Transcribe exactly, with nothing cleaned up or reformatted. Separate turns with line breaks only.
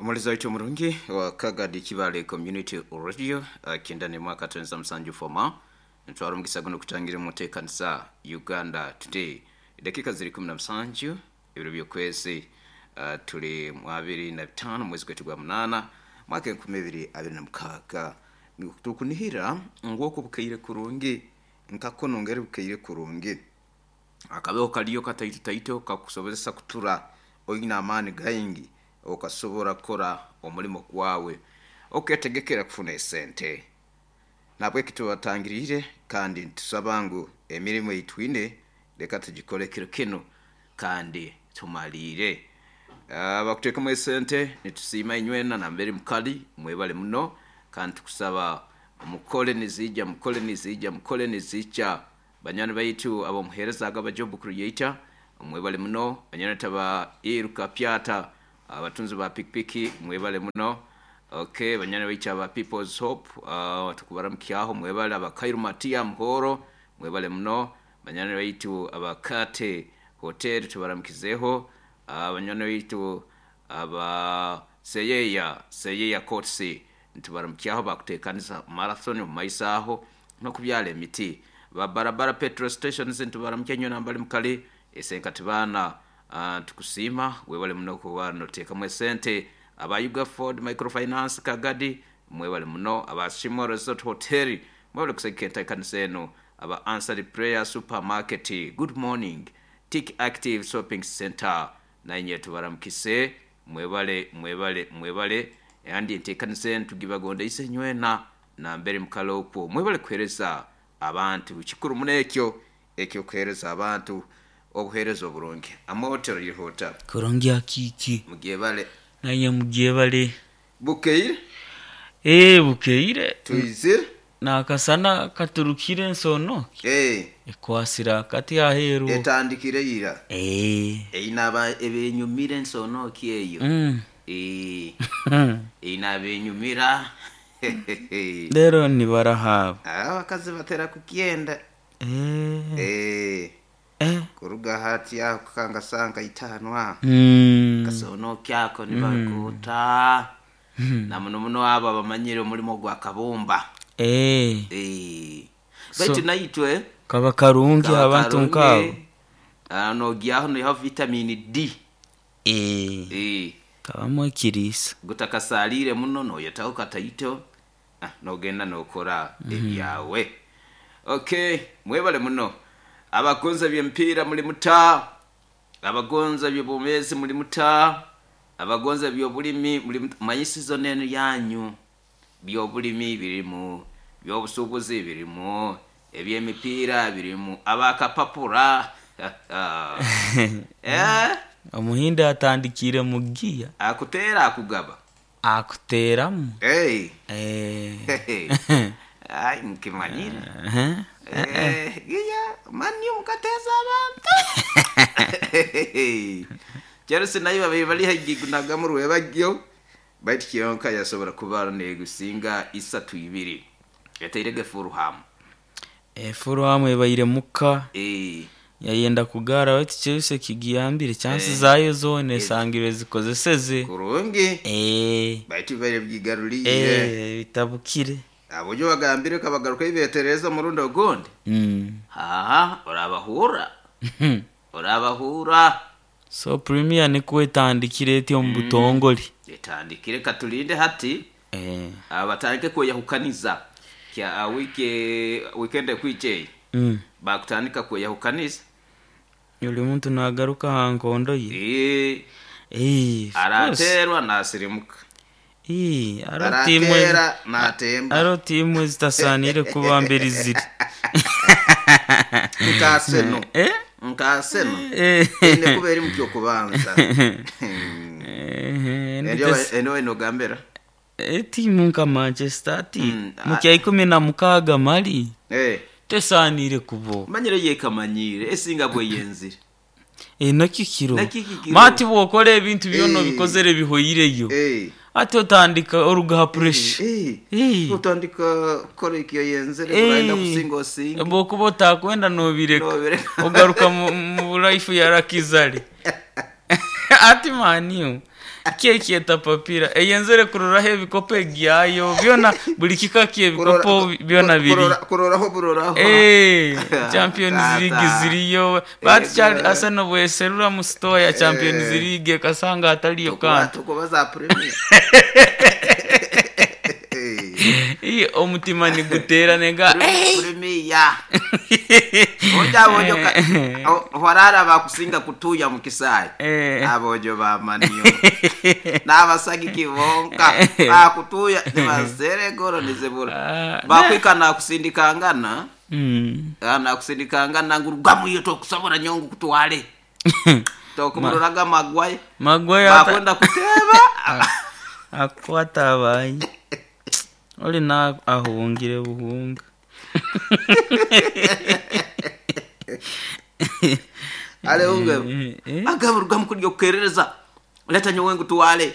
Omulizi waitu omurungi wa Kagadi Kibale Community Radio uh, kyenda n'emwe akatonza musanju foma, ntwara omugisa guno kutangira omuteekanisa Uganda Today. Edakika ziri kumi na musanju, ebiro by'okwezi uh, tuli mu abiri na bitaano, mwezi gwaitu gwa munaana, mwaka enkumi ibiri abiri na mukaaga. Tukunihira ngu oku bukaire kurungi, nkakono ngeri bukaire kurungi, akabeho kaliyo kataito taito kakusobozesa kutura oine amaani gaingi, okasobora kukora omulimo gwawe, oketegekera kufuna esente. Nabweki tubatangiriire kandi nitusaba ngu emirimu eitwine leka tugikore kiro kinu kandi tumaliire. Abakuteekamu esente, nitusiima inywena nambere mukali, mwebale muno, kandi tukusaba mukole nizija, mukole nizija, mukole nizija. Banywani baitu abomuheereza aba job creator, mwebale muno. Banywani taba iruka pyata, abatunzi ba pikipiki, mwebale muno. Okay, banywani baitu aba People's Hope, uh, tukubaramukyaho, mwebale. Abakairu Matia Muhoro, mwebale muno. Banywani baitu abakate hotel, tubaramukizeho. uh, banywani baitu aba seyeya seyeya courts, nitubaramukyaho, bakuteekaniza marathon omu maiso aho n'okubyala emiti. Ba barabara petrol stations, nitubaramukya nyo nambali mukali esenkati baana, uh, tukusiima, webale muno kuba noteekamu esente. Aba Yuga Ford Microfinance Kagadi, mwebale muno. Aba Shimo Resort Hotel, mwebale kusegeka enteekanisa eno. Aba Answered Prayer Supermarket, good morning. Tik Active Shopping Center, nanye tubaramukise, mwebale, mwebale, mwebale. Andi enteekanisa eno tugibagondeise nywena nambere mukale okwo, mwebale kuheereza abantu. Kikuru muno ekyo ekyokuheereza abantu obuheereza oburungi. Amahotero yihota.
Kurungi akiki.
Mugyebale.
Naye mugyebale.
Bukeire.
Ee, bukeire.
Tuizire.
Nakasana katurukire ensono.
Eh,
ekwasira akati aheeru.
Etandikire ira.
Ee.
Einaba ebenyumira ensonoki eyo.
Mm.
Eh, einaba enyumira.
Rero nibarahaba.
Abakazi batera kukyenda.
Eh.
Eh,
Eh.
kuruga hati aho kukangasanga itaano aho,
Mm.
kasonoki ako nibakuta na muno muno abo abamanyire omulimo gwa kabumba.
Eh.
Eh,
So-
baitu naitwe
kaba karungi
kaba
abantu
karungi.
nkabo.
Ah, nogyaho niho vitamin D.
Eh.
Eh,
kabamu ekiriisa.
Gutakasalire muno, noyetaho kataito, ah, nogenda nokora ebyawe. Okay, mwebale muno. Abagonza byempiira muli muta, abagonza byobumezi muli muta, abagonza byobulimi muli muta. Manyi season eno yanyu, byobulimi birimu, byobusuubuzi birimu, ebyemipiira birimu, abakapapura, eh?
Omuhindi atandikire mu giya.
Akuteera akugaba.
Akuteeramu.
Hey.
Eh.
Ai, nkimanyire.
Eh.
Eh, giya mani mukateza abantu. Chelsea nayo babiri bali haigigunaga mu rwebagyo, baitu kyonka yasobora kuba negusinga isatu ibiri, yateirege Fulham.
Eh, Fulham ebaire muka.
Eh,
yayenda kugara, baitu Chelsea kigiyambire chansi
Eh.
zayo zona esangirwe zikozeseze.
Kurungi.
Eh.
Baitu baire byigaruriye.
Eh, bitabukire.
Abojo bagambire kabagaruka ibetereza murundi ogundi.
Mm.
Haha, orabahura, orabahura.
So Premier nikuwa etandikire eti omu butongole.
Etandikire, katulinde hati.
Eh.
Batandike kweyahukaniza kya uh, wiki weekend kwiche.
Mm.
Bakutandika kweyahukaniza.
Buli muntu nagaruka ha nkondo ye.
Eh,
Eh, of course.
araterwa nasirimuka.
Eh, aro timu
Aratera natemba.
aro timu ezitasanire kuba mbere ziri.
Nka Arsenal.
Eh?
Nka Arsenal.
Eh.
Ine kuba eri mukyo kubanza.
Eh,
Eryo eno enogambera.
Etimu nka Manchester ati
Mm,
mukya ikumi na mukaaga mali
Eh,
tesanire kubo.
Manyire yekamanyire esinga bweyenzire.
Eh, nakyo kiro.
Nakyo kikiro.
Mati bwokora ebintu byona
Eh.
obikozere bihoyireyo,
Eh.
ate otandika orugaha pressure.
Eh.
Eh.
Utandika kora ekyo yenzere,
Eh.
uraenda kusinga osinga.
Bwokuba otakwenda nobireka.
Nobireka.
Ogaruka mu, mu life ya rakizale. Ati maniyo kyekyeta papira eyenzere kuroraho ebikopo egyayo byona, buli kika kyebikopo byona biri.
Kuroraho buroraho.
Eh, Champions
Tata.
League ziriyo, bati kyali
Eh,
Arsenal bweserura mu store ya Champions
Eh.
League ekasanga ataliyo
Tukuba-
kantu.
Tukuba za Premier.
Ii, omutima niguteera nega.
Premier oja abojo warara bakusinga kutuya mu kisaayi.
Eh.
Abojo bamaniyo n'abasagiki bonka bakutuya nibazere goro nizibura.
Ah,
Bakwika nakusindikangana.
Mm.
Ah, nakusindikangana ngu rugamu tokusobora nyongu kutwale tokumuroraga Magwaye.
Magwaye ata-
Bakwenda kuteba.
Akwata abayi oli na ahungire buhunga.
Ale unge
Eh, eh.
agaba rugamu kurya kukerereza leta nyowe ngu tuwale.